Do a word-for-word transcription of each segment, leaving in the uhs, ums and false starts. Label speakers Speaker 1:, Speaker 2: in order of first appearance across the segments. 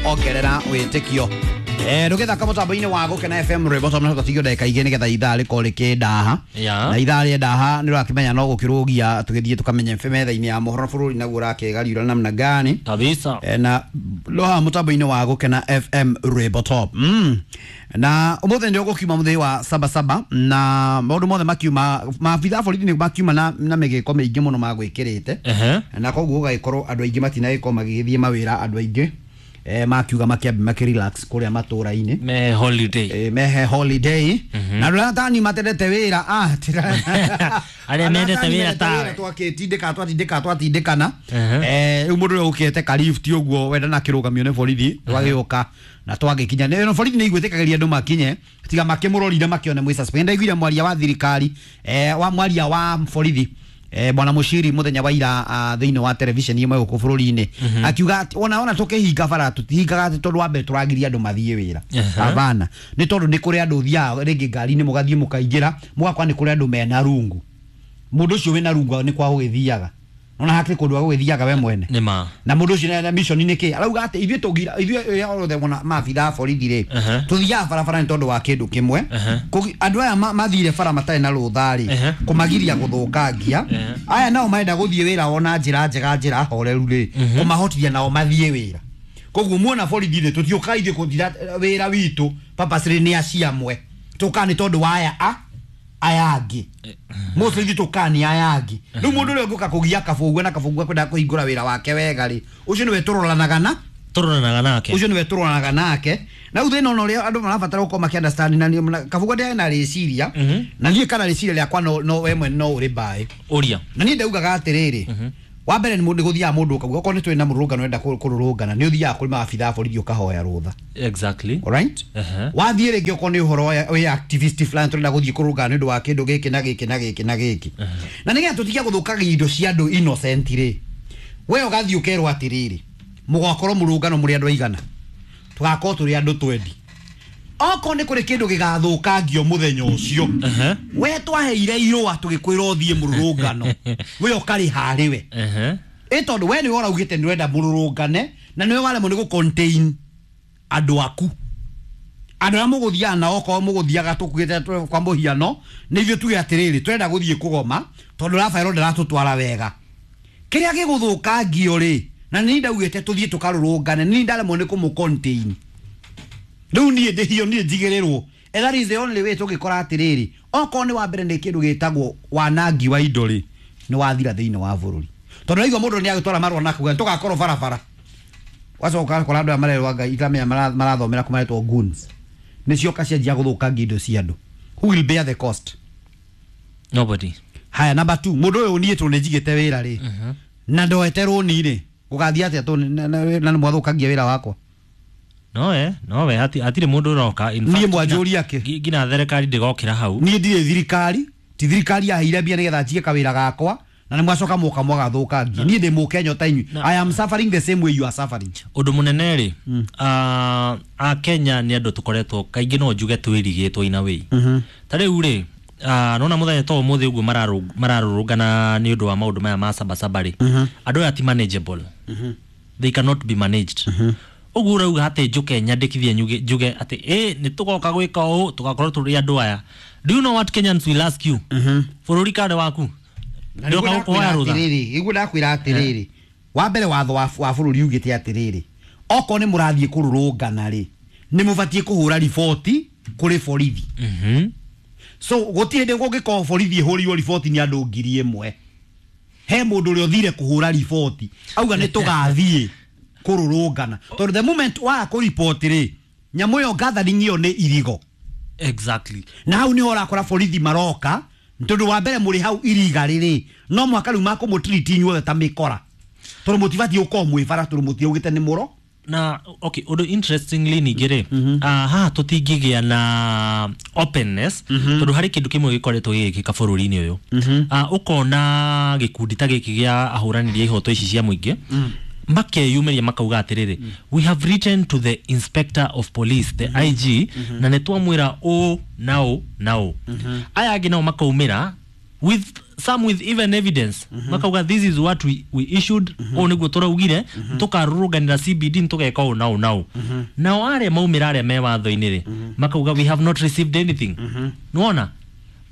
Speaker 1: Ongerera Wĩtĩkio. Eh, ndũgĩthaka mũtambo-inĩ wa Gũkena F M rwĩmbo tondũ tũtigio ndagĩka igĩrĩ nĩgetha ithaa rĩkorwo rĩkĩndaha.
Speaker 2: Yeah.
Speaker 1: Na ithaa rĩendaha nĩ ũrakĩmenya no gũkĩrũgia tũgĩthiĩ tũkamenye metha-inĩ ya mohoro bũrũri naguo ũrakĩgariũra namna gani.
Speaker 2: Kabisa.
Speaker 1: Eh, na lo haha mũtambo-inĩ wa Gũkena F M rwĩmbo top. Mm. Na ũmũthĩ nĩ ũgũkiuma mũthĩ wa saba saba na maũndũ mothe makiuma maabitha a borithi nĩ makiuma na, na mĩgĩko mĩingĩ mũno magwĩkĩrĩte.
Speaker 2: Ehe.
Speaker 1: Na koguo gũgagĩkorwo andũ aingĩ matinagĩkorwo magĩgĩthiĩ mawĩra, andũ aingĩ eh, makiuga makĩambe makĩrelax kũrĩa matũra-inĩ.
Speaker 2: Me holiday.
Speaker 1: Eh, mehe holiday. Na andũ arĩa tani matendete wĩra, ah, tira-
Speaker 2: Arĩa mendete wĩra tawe.
Speaker 1: Twakĩtindĩka, twatindĩka, twatindĩkana.
Speaker 2: Ehe.
Speaker 1: Eh, rĩu mũndũ ũrĩa ũkĩte karift ũguo wenda na kĩrũgamio nĩ borithi twagĩũka na twagĩkinya. Nĩ borithi nĩ igwĩtĩkagĩria andũ makinye tiga makĩmũrorire makĩone mwĩ suspect. Ndaiguire mwaria wa thirikari, eh, wa mwaria wa borithi, eh, bwana Mushiri muthenya wa ira, uh, thĩinĩ wa television ĩmwe gũkũ bũrũri-inĩ, akiuga atĩ ona ona tũkĩhinga bara tũtihingaga atĩ tondũ wa mbere tũragiria andũ mathiĩ wĩra.
Speaker 2: Aha.
Speaker 1: Hapana, nĩ tondũ nĩ kũrĩ andũ thiaga rĩngĩ ngari-inĩ mũgathiĩ mũkaingĩra mũgakora nĩ kũrĩ andũ mena rungu. Mũndũ ũcio wĩna rungu nĩ kwa gũgĩthiaga, nona hakĩrĩ kũndũ gwa gũgĩthiaga we mwene.
Speaker 2: Nĩ ma.
Speaker 1: Na mũndũ ũcio na mission nĩ kĩ arauga atĩ ithuĩ tũngira ithuĩ othe wona maabitha a borithi rĩ,
Speaker 2: Aha.
Speaker 1: tũthiaga barabara nĩ tondũ wa kĩndũ kĩmwe.
Speaker 2: Aha.
Speaker 1: Kũgi- andũ aya ma-, mathire bara matarĩ na rũtha rĩ,
Speaker 2: Aha.
Speaker 1: kũmagiria gũthũkangia.
Speaker 2: Aha.
Speaker 1: Aya nao marenda gũthiĩ wĩra wona njĩra njega njĩra horeru rĩ, kũmahotithia nao mathiĩ wĩra. Koguo muona borithi rĩ, tũtiũkaga ithuĩ kũthira wĩra witũ purposely nĩ acio amwe, tũkaga nĩ tondũ wa aya a aya angĩ. Mostly ithuĩ tũkaga nĩ aya angĩ. Rĩu mũndũ ũrĩa ũngĩũka kũgia kabũgua na kabũgua kwenda kũhingũra wĩra wake wega rĩ, ũcio nĩwe tũroranaga na
Speaker 2: tũroranaga nake.
Speaker 1: Ũcio nĩwe tũroranaga nake. Na rĩu thĩna ona ũrĩa andũ marabatara gũkorwo makĩ understand na nĩ kabũgua ndĩarĩ na rĩciria,
Speaker 2: Mhm.
Speaker 1: na niĩ kana rĩciria rĩakwa no, no we mwene no ũrĩ mbaĩ.
Speaker 2: Ũria.
Speaker 1: Na niĩ ndaugaga atĩrĩrĩ, wa mbere nĩ mũndũ gũthiaga mũndũ ũkauga okorwo nĩ twĩ na mũrũrũngano wenda kũ-, kũrũrũngana, nĩ ũthiaga kũrĩ maabitha a borithi ũkahoya rũtha.
Speaker 2: Exactly.
Speaker 1: Alright?
Speaker 2: Ehe.
Speaker 1: Wathiĩ rĩngĩ okorwo nĩ ũhoro wa-, wĩ activist fulani tũrenda gũthiĩ kũrũngana nĩ ũndũ wa kĩndũ gĩkĩ na gĩkĩ na gĩkĩ na gĩkĩ. Na nĩgetha tũtige gũthũkagia indo cia andũ innocent rĩ, we ũgathiĩ ũkerwo atĩrĩrĩ, mũgakorwo mũrũngano mũrĩ andũ aigana, tũgakorwo tũrĩ andũ twendi. Okorwo nĩ kũrĩ kĩndũ gĩgathũkangio mũthenya ũcio,
Speaker 2: Ehe.
Speaker 1: we twaheire irũa tũgĩkwĩra ũthiĩ mũrũrũngano, we ũkarĩha harĩ we.
Speaker 2: Ehe.
Speaker 1: Ĩ tondũ we nĩwe ũraugĩte nĩ ũrenda mũrũrũngane, na nĩwe waremwo nĩ gũ-contain andũ aku. Andũ arĩa mũgũthiaga nao, okorwo mũgũthiaga tũkuĩte tũ-, kwa mũhiano, nĩ ithuĩ tuge atĩrĩrĩ, tũrenda gũthiĩ kũgoma tondũ Rafael ndaratũtwara wega. Kĩrĩa gĩgũthũkangio rĩ, na nĩ ndaugĩte tũthiĩ tũkarũrũngane, nĩ ndaremwo nĩ kũmũ-contain. Rĩu niĩ ndĩhio, niĩ njigĩrĩrwo. And that is the only way tũngĩkora atĩrĩrĩ, okorwo nĩ wa mbere nĩ kĩndũ gĩtagwo wanangi wa indo rĩ, nĩ wathira thĩinĩ wa bũrũri. Tondũ raigua mũndũ nĩ agĩtwara marũa na kuga tũgakorwo barabara. Wacoka ũgakora andũ aya marerwo Ngai itamenya mara-, marathomera kũ maretwo goons. Nĩ cioka cianjia gũthũkangia indo cia andũ. Who will bear the cost?
Speaker 2: Nobody.
Speaker 1: Haya, number two, mũndũ ũyũ niĩ tondũ nĩ njigĩte wĩra rĩ,
Speaker 2: Mhm.
Speaker 1: na ndoete rũni rĩ, gũgathiĩ atĩa tondũ na-, na-, na nĩ mwathũkangia wĩra wakwa?
Speaker 2: No we, no we, hati-, hatirĩ mũndũ ũroka. In
Speaker 1: Niĩ
Speaker 2: fact,
Speaker 1: mwanjũria kĩ?
Speaker 2: ngi-, nginya thirikari ndĩgokĩra hau.
Speaker 1: Niĩ ndirĩ thirikari, ti thirikari yaheire mbia nĩgetha njige kawĩra gakwa, na nĩ mwacoka mũka mwagathũkangia. Niĩ ndĩ mũkenya ta inyuĩ.
Speaker 2: Na-
Speaker 1: I am suffering the same way you are suffering.
Speaker 2: Ũndũ mũnene rĩ,
Speaker 1: Mm.
Speaker 2: ah, a Kenya nĩ andũ tũkoretwo kaingĩ no njuge twĩrigĩtwo in a way.
Speaker 1: Mhm.
Speaker 2: Ta rĩu rĩ, ah, nona mũthenya ta ũmũthĩ ũguo mararũ-, mararũrũngana nĩ ũndũ wa maũndũ maya ma sabasaba rĩ,
Speaker 1: Mhm.
Speaker 2: andũ aya ti manageable.
Speaker 1: Mhm.
Speaker 2: They cannot be managed.
Speaker 1: Mhm.
Speaker 2: Ũguo ũrauga atĩ njũke nyandĩkithie nyuge, njuge atĩ, ĩ, nĩ tũgoka gwĩka ũũ, tũgakorwo tũrĩ andũ aya. Do you know what Kenyans will ask you?
Speaker 1: Mhm.
Speaker 2: Bũrũri karĩ waku?
Speaker 1: Na nĩguo
Speaker 2: Ndĩroka gũkũhoya
Speaker 1: ndakwĩra
Speaker 2: rũtha.
Speaker 1: atĩrĩrĩ, nĩguo ndakwĩra atĩrĩrĩ, wa mbere watho wa, wa bũrũri ugĩte atĩrĩrĩ, okorwo nĩ mũrathiĩ kũrũrũngana rĩ, nĩ mũbatiĩ kũhũra riboti kũrĩ borithi.
Speaker 2: Mhm.
Speaker 1: So gũtirĩ hĩndĩ kũngĩkorwo borithi ĩhũrirwo riboti nĩ andũ ngiri ĩmwe. He mũndũ ũrĩa ũthire kũhũra riboti auga nĩ tũgathiĩ kũrũrũngana, tondũ the moment waga kũriboti rĩ, nyamũ ĩyo gathering ĩyo nĩ irigo.
Speaker 2: Exactly.
Speaker 1: Na hau nĩho ũrakora borithi maroka, tondũ wa mbere mũrĩ hau iriga rĩrĩ, no mũhaka rĩu makũmũtiriti inyuothe ta mĩkora, tondũ mũtibatiĩ gũkorwo mwĩ bara, tondũ mũtiaugĩte nĩ mũro.
Speaker 2: Na okay, ũndũ interestingly ningĩ rĩ,
Speaker 1: Mhm.
Speaker 2: ah, haha tũtingĩgĩa na openness,
Speaker 1: Mhm.
Speaker 2: tondũ harĩ kĩndũ kĩmwe gĩkoretwo gĩgĩkĩka bũrũri-inĩ ũyũ.
Speaker 1: Mhm.
Speaker 2: Ah, ũkona gĩkundi ta gĩkĩ gĩa ahũranĩri a ihoto ici cia mũingĩ,
Speaker 1: Mm.
Speaker 2: makeyumĩria makauga atĩrĩrĩ,
Speaker 1: Mm.
Speaker 2: we have written to the inspector of police, the
Speaker 1: Mm-hmm.
Speaker 2: I G,
Speaker 1: Mm-hmm.
Speaker 2: na nĩ twamwĩra ũ na ũ na ũ.
Speaker 1: Mm-hmm.
Speaker 2: Aya angĩ nao makaumĩra With some with even evidence. Mm -hmm. Makauga this is what we, we issued. Mm -hmm. O niguo turaugire mm -hmm. tukarurunganira C B D tugeka o nao nao. Mm -hmm. Nao aria maumira aria me watho-inĩ rĩ, mm -hmm. makauga we have not received anything. Mm -hmm. Nĩwona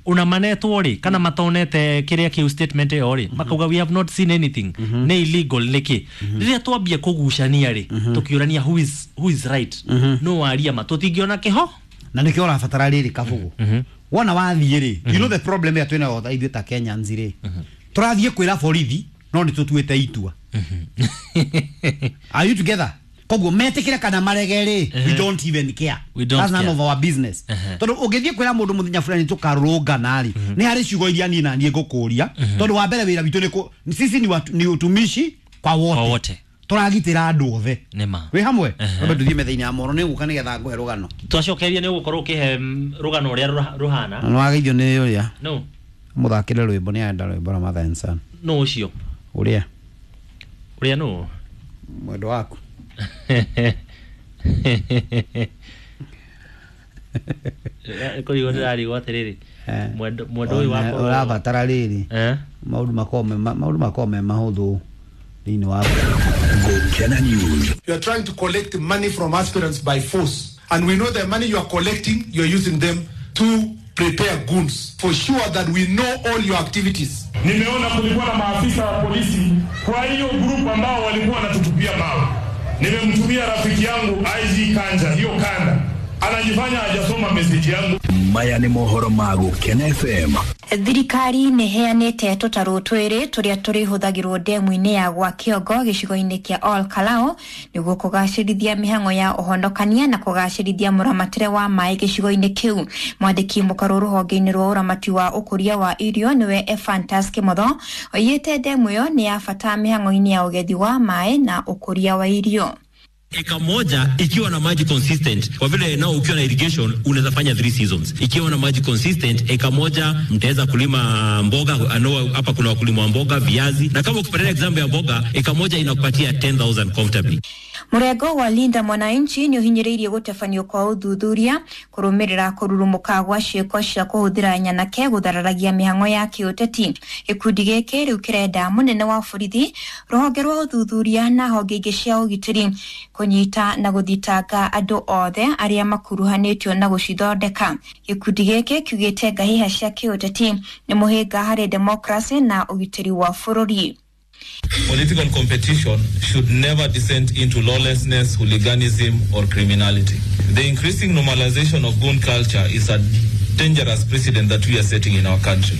Speaker 2: una manetwo rĩ kana matonete kiria kiu statement ĩyo rĩ, makauga we have not seen anything. Mm -hmm. Nĩ illegal nĩkĩ? Mm -hmm. Rĩrĩa twambia kũgucania rĩ, mm -hmm. tũkĩũrania who is who is right. Mm -hmm. No waria ma tũtingĩona kĩho
Speaker 1: na nĩkĩo ũrabatara rĩrĩ Kabugu. Mm -hmm. Wona wathiĩ rĩ, you know the problem ya twĩna otha ithuĩ ta Kenyans rĩ, tũrathiĩ kwĩra borithi no nĩ tũtuĩte itua. Are you together? Koguo metĩkĩre kana marege rĩ, we don't even care.
Speaker 2: We don't
Speaker 1: That's none
Speaker 2: care.
Speaker 1: of our business. Tondũ ũngĩthiĩ kwĩra mũndũ mũthenya fulani tũkarũrũngana rĩ, nĩ harĩ ciugo iria niĩ na niĩ ngũkũria, tondũ wa mbere wĩra witũ nĩ kũ sisi ni watu, ni utumishi kwa wote.
Speaker 2: Kwa wote.
Speaker 1: Tũragitĩra andũ othe.
Speaker 2: Nĩma.
Speaker 1: Wĩ hamwe? Twambe tũthiĩ metha-inĩ ya mohoro nĩ ngũka nĩgetha ngũhe rũgano.
Speaker 2: Twacokeria nĩ ũgũkorwo ũkĩhe rũgano ũrĩa rũhana.
Speaker 1: Na nĩwageithio nĩ ũrĩa?
Speaker 2: No.
Speaker 1: Mũthakĩre rwĩmbo nĩ arenda rwĩmbo rwa Mother and Son.
Speaker 2: No ũcio.
Speaker 1: Ũrĩa?
Speaker 2: Ũrĩa nũ?
Speaker 1: Mwendwa waku.
Speaker 2: Kũrigwo ndĩrarigwo atĩrĩrĩ. Mwendo mwendo ũyũ wakwa
Speaker 1: ũrabatara rĩrĩ.
Speaker 2: Eh?
Speaker 1: Maũndũ makorwo me maũndũ makorwo me mahũthũ thĩinĩ wa
Speaker 3: Gukena News.
Speaker 4: You are trying to collect money from aspirants by force, and we know the money you are collecting, you are using them to prepare goons. For sure that we know all your activities.
Speaker 5: Nimeona kulikuwa na maafisa wa polisi kwa hiyo group ambao walikuwa wanatutupia mawe. Nimemtumia rafiki yangu I G Kanja, hiyo kanda. Anajifanya hajasoma message yangu.
Speaker 3: Maya ni mohoro ma Gukena F M.
Speaker 6: Thirikari nĩ ĩheanĩte tũtarũ twĩrĩ tũrĩa tũrĩhũthagĩrwo ndemu-inĩ ya gwa Kĩongo gĩcigo-inĩ kĩa Ol Kalou nĩguo kũgacĩrithia mĩhang'o ya ũhonokania na kũgacĩrithia mũramatĩre wa maĩ gĩcigo-inĩ kĩu. Mwandĩki mũkarũ rũhonge-inĩ rwa ũramati wa ũkũria wa irio nĩwe Ephantus Kĩmotho oigĩte ndemu ĩyo nĩ ya bata mĩhang'o-inĩ ya ũgethi wa maĩ na ũkũria wa irio.
Speaker 7: Eka moja ikiwa na maji consistent, kwa vile nao ukiwa na irrigation unaweza fanya three seasons. Ikiwa na maji consistent, eka moja mtaweza kulima mboga. Ano, hapa kuna wakulima wa mboga, viazi, na kama ukipatia example ya mboga, eka moja inakupatia ten thousand comfortably.
Speaker 6: Murengo wa Linda Mwananchi ni uhinyĩrĩirie gũtabanio kwa ũthuthuria kũrũmĩrĩra kũrurumũka gwa ciĩko cia kũhũthĩra nyanake gũthararagia mĩhang'o ya kĩũteti. Gĩkundi gĩkĩ rĩu kĩrenda mũnene wa borithi, rũhonge rwa ũthuthuria na honge ingĩ cia ũgitĩri kũnyita na gũthitanga andũ othe arĩa makuruhanĩtio na gũcithondeka. Gĩkundi gĩkĩ kiugĩte ngahĩha cia kĩũteti nĩ mũhĩnga harĩ demokrasi na ũgitĩri wa bũrũri.
Speaker 8: Political competition should never descend into lawlessness, hooliganism, or criminality. The increasing normalization of goon culture is a dangerous precedent that we are setting in our country.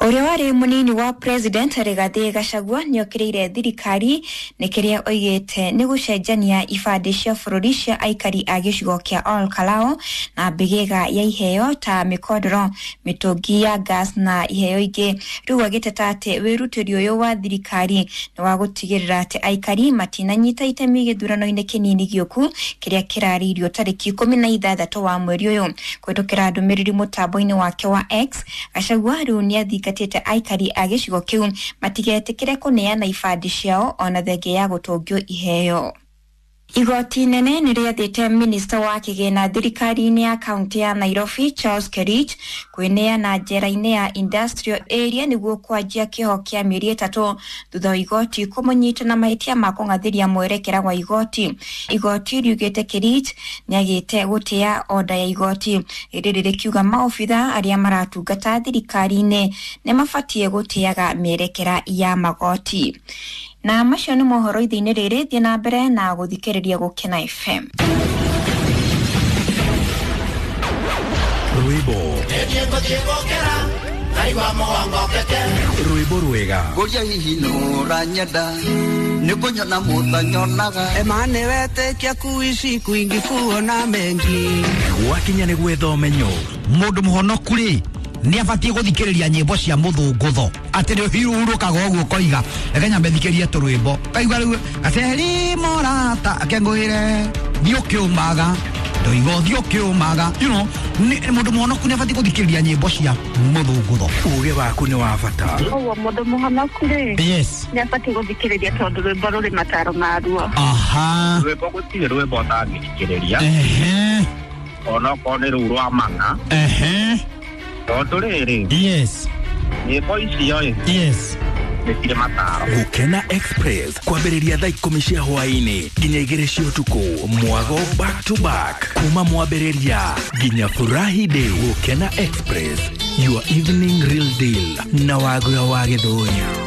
Speaker 6: Ũrĩa warĩ mũnini wa president Rigathĩ Gachagua nĩokĩrĩire thirikari nĩ kĩrĩa oigĩte nĩ gũcenjania ibandĩ cia bũrũri cia aikari a gĩcigo kĩa Ol Kalou na mbĩgĩga ya iheo ta mĩkondoro, mĩtũngi ya gas na iheo ingĩ. Rĩu agĩteta atĩ wĩrutĩri ũyũ wa thirikari nĩ wa gũtigĩrĩra atĩ aikari matinanyita itemi gĩthurano-inĩ kĩnini gĩũku kĩrĩa kĩrarĩirio tarĩki ikũmi na ithathatũ wa mweri ũyũ. Kũhĩtũkĩra ndũmĩrĩri mũtambo-inĩ wake wa X, Gachagua rĩu nĩathingatĩte aikari a gĩcigo kĩu matigetĩkĩre kũneana ibandĩ ciao ona thenge ya gũtũngio iheo. Igoti nene nĩ rĩathĩte minista wa kĩgĩna thirikari-inĩ ya kaunti ya Nairobi Charles Kerich kwĩneana njera-inĩ ya industrial area nĩguo kwanjia kĩoho kĩa mĩeri ĩtatũ thutha wa igoti kũmũnyita na mahĩtia ma kũng'athĩria mwerekera wa igoti. Igoti riugĩte Kerich nĩagĩte gũtĩa oda ya igoti rĩrĩ rĩkiuga maobitha arĩa maratungata thirikari-inĩ nĩmabatiĩ gũtĩaga mĩerekera ya magoti. Na macio nĩ mohoro ithe-inĩ rĩrĩ, thiĩ na mbere na gũthikĩrĩria Gukena F M.
Speaker 3: Rwĩmbo rwĩmbo rwega
Speaker 9: ngũria hihi nũranyenda nĩ kũnyona mũtanyonaga
Speaker 10: emane wetĩkia kuishi kwingi kuona mengi
Speaker 3: gwakinya nĩ gwetha ũmenyo.
Speaker 1: Mũndũ mũhonoku rĩ nĩ abatiĩ gũthikĩrĩria nyĩmbo cia mũthũngũtho atĩ nĩ ũhurũkaga ũguo ũkoiga reke nyambe thikĩrie tũrwĩmbo kaigua rĩu gaceri morata akengũĩre thiĩ ũkĩũmaga ndoiga ũthiĩ ũkĩũmaga, you know, mũndũ mũhonoku nĩ abatiĩ gũthikĩrĩria nyĩmbo cia mũthũngũtho.
Speaker 3: Ũgĩ waku nĩ wa bata.
Speaker 11: Ũguo mũndũ mũhonoku rĩ,
Speaker 1: yes,
Speaker 11: nĩ abatiĩ gũthikĩrĩria tondũ rwĩmbo rũrĩ mataro maruo.
Speaker 1: Aha,
Speaker 12: rwĩmbo gũtirĩ rwĩmbo ũtangĩthikĩrĩria.
Speaker 1: Ehe,
Speaker 12: onokorwo nĩ rũu rwa mang'a.
Speaker 1: Ehe,
Speaker 12: Tondũ rĩrĩ,
Speaker 2: Yes.
Speaker 12: nyĩmbo icio ĩ,
Speaker 2: Yes.
Speaker 12: nĩ cirĩ mataro.
Speaker 3: Gukena Express kwambĩrĩria thaa ikũmi cia hwaĩ-inĩ nginya igĩrĩ cia ũtukũ, mwago back to back kuma mwambĩrĩria nginya furahi day. Gukena Express, your evening real deal na Wagura wa Gĩthũri.